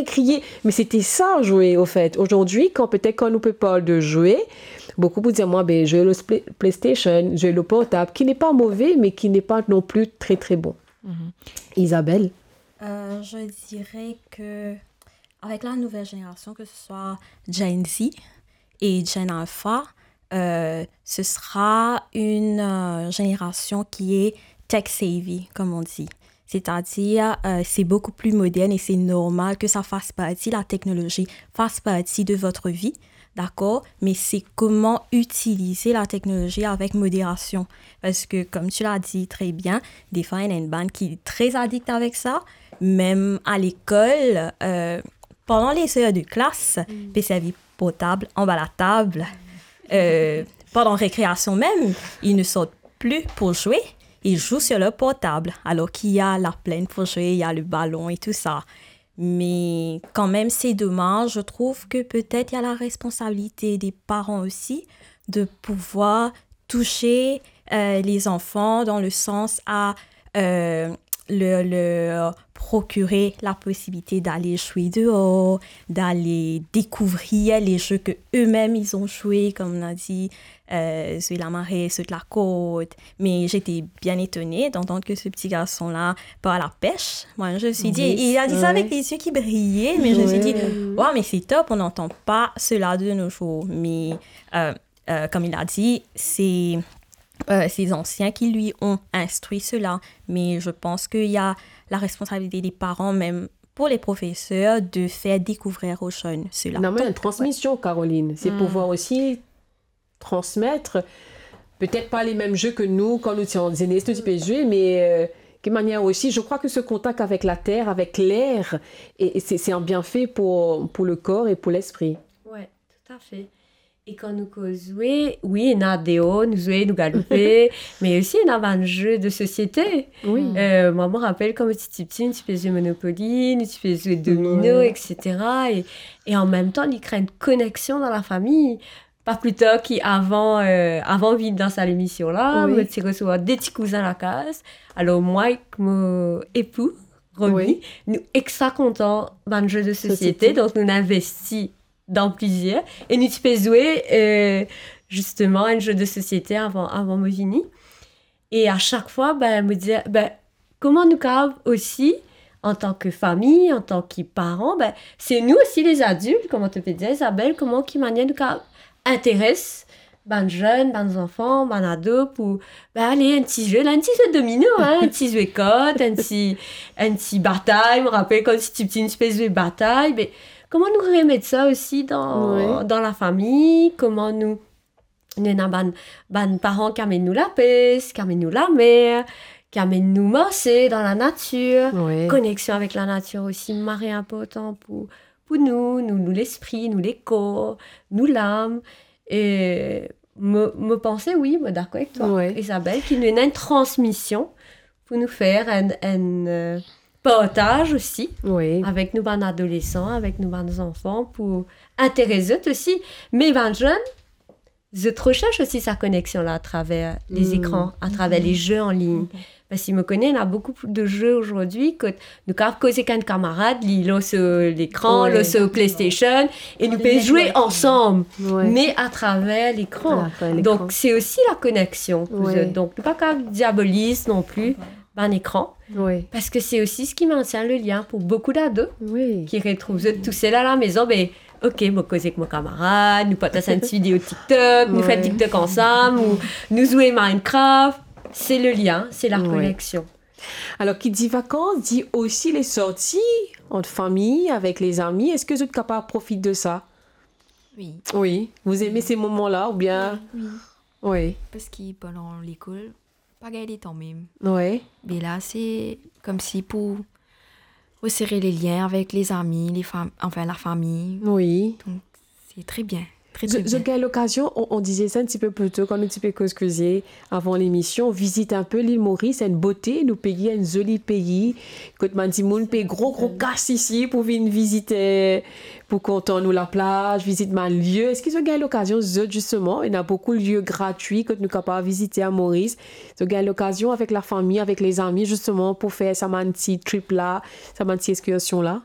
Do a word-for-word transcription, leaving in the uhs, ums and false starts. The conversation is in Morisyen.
crier. Mais c'était ça, jouer, au fait. Aujourd'hui, quand peut-être quand on peut parler de jouer, beaucoup vont dire, moi, ben, jouer le play- PlayStation, jouer le portable, qui n'est pas mauvais, mais qui n'est pas non plus très, très bon. Mhm. Isabelle ? Euh, je dirais que avec la nouvelle génération, que ce soit Gen Z et Gen Alpha, euh, ce sera une euh, génération qui est tech savvy, comme on dit. C'est-à-dire, euh, c'est beaucoup plus moderne et c'est normal que ça fasse partie, la technologie fasse partie de votre vie, d'accord ? Mais c'est comment utiliser la technologie avec modération. Parce que, comme tu l'as dit très bien, des fois, il y a une bande qui est très addict avec ça. Même à l'école, euh, pendant les heures de classe, mm, pe servi portab anba latab. Euh, pendant récréation même, ils ne sortent plus pour jouer, ils jouent sur leur portable, alors qu'il y a la plaine pour jouer, il y a le ballon et tout ça. Mais quand même, c'est dommage. Je trouve que peut-être il y a la responsabilité des parents aussi de pouvoir toucher euh, les enfants dans le sens à euh, leur, leur procurer la possibilité d'aller jouer dehors, d'aller découvrir les jeux que eux-mêmes ils ont joués, comme on a dit, euh, zwe lamare, sot lakord. Mais j'étais bien étonnée d'entendre que ce petit garçon-là part à la pêche. Moi, je me suis dit, oui, il a dit ça avec les yeux qui brillaient, mais je me suis dit, waouh, mais c'est top, on n'entend pas cela de nos jours. Mais euh, euh, comme il a dit, c'est euh, ses anciens qui lui ont instruit cela. Mais je pense qu'il y a la responsabilité des parents, même pour les professeurs, de faire découvrir aux jeunes cela. Non, mais une transmission, Caroline, c'est pouvoir aussi transmettre, peut-être pas les mêmes jeux que nous, quand nous étions en jeunesse, nous étions jeunes, mais euh, de manière aussi, je crois que ce contact avec la terre, avec l'air, et, et c'est c'est un bienfait pour, pour le corps et pour l'esprit. Ouais, tout à fait. E kan nou koz zwe, wi, ena deor, nou zwe, nou galoupe, me osi ena bann ze de sosiete. Wi. Euh, mwa, mo rapel kan mo ti, ti piti, nou ti pe zwe Monopoly, nou ti pe zwe domino, etsetera. E, e an mem tan, li kre enn koneksion dan lafami. Pa pli tar ki avan, euh, avan vinn dan sa lemision la, wi, mo ti resevwar de ti kouzin lakaz. Alor, mwa ek mo epou, Romy, wi, nou extra kontan bann ze de sosiete, sosiete, donk nou investi dan plizier. E nou ti pe zwe, euh, zisteman, enn ze de sosiete avan, avan mo vini. E a sak fwa, ben, mo dir, ben, kouma nou kapav osi, antan ki fami, antan ki paran, ben, se nou osi lezadilt, kouma to pe dir, Isabelle, kouma, ki manier nou kapav interes bann zenn, bann zanfan, bann ado pou, ben, ale, enn ti ze, la, enn ti ze domino, hein, enn ti ze kart, enn ti, enn ti batay. Mo rapel kan ti piti, nou ti pe zwe batay, me kouma nou remet sa osi dan, wi, dan lafami, kouma nou, nou ena bann, bann paran ki amenn nou lapes, ki amenn nou lamer, ki amenn nou marse dan lanatir. Wi. Koneksion avek lanatir osi, mari inportan pou, pou nou, nou, nou lespri, nou lekor, nou lam. E mo, mo panse, wi, mo dakor avek twa, wi, Isabelle, ki nou ena enn transmision pou nou fer enn, enn, euh, partaz osi, wi, avek nou bann adolesan, avek nou bann zanfan, pou interes zot osi. Me bann zenn, zot resers osi sa koneksion la atraver lezekran, atraver leze an lign. Parski mo kone ena boukou de ze ozordi kot nou kapav koz ek enn kamarad, li lor so lekran, wi, lor so PlayStation, e nou pe zwe ansam, wi, me atraver lekran. Atraver lekran. Donk, se osi la koneksion pou zot. Wi. Donk, nou pa kapav diaboliz non pli bann ekran. Wi. Parski se osi seki mentien le lien pou boukou dado, wi, ki retrouv zot tousel alamezon, be, ok, mo koz ek mo kamarad, nou partaz enn ti video TikTok, nou fer TikTok ansam, ou nou zwe Minecraft. Se le lien, se la koneksion. Alor, ki dir vakans, dir osi les sorties entre famille, avec les amis. Eski zot kapav profit de sa? Oui. Oui. Vous aimez ces moments-là, ou bien? Oui, oui. Oui. Parski pandan lekol, pa gagn letan mem. Oui. Me la, se komsi pou resere le lien avek les amis, les fam-, enfin, la famille. Oui. Donk, se tre bien, tre, tre bien. Zot gagn lokazion, on, on disait ça un petit peu plus tôt, kan nou ti pe koz koze avan lemision, vizit inpe Lil Moris, enn bote, nou pei, enn zoli pei, kot bann dimoun pey gro, gro kas isi pou vinn vizit, pou kontan nou laplaz, vizit bann lie. Eski zot gagn lokazion, zot, zisteman, ena boukou lie gratwi kot nou kapav vizite a Moris. Zot gagn lokazion avek lafami, avek lezami, zisteman, pou fer sa bann ti trip la, sa bann ti ekskursion la?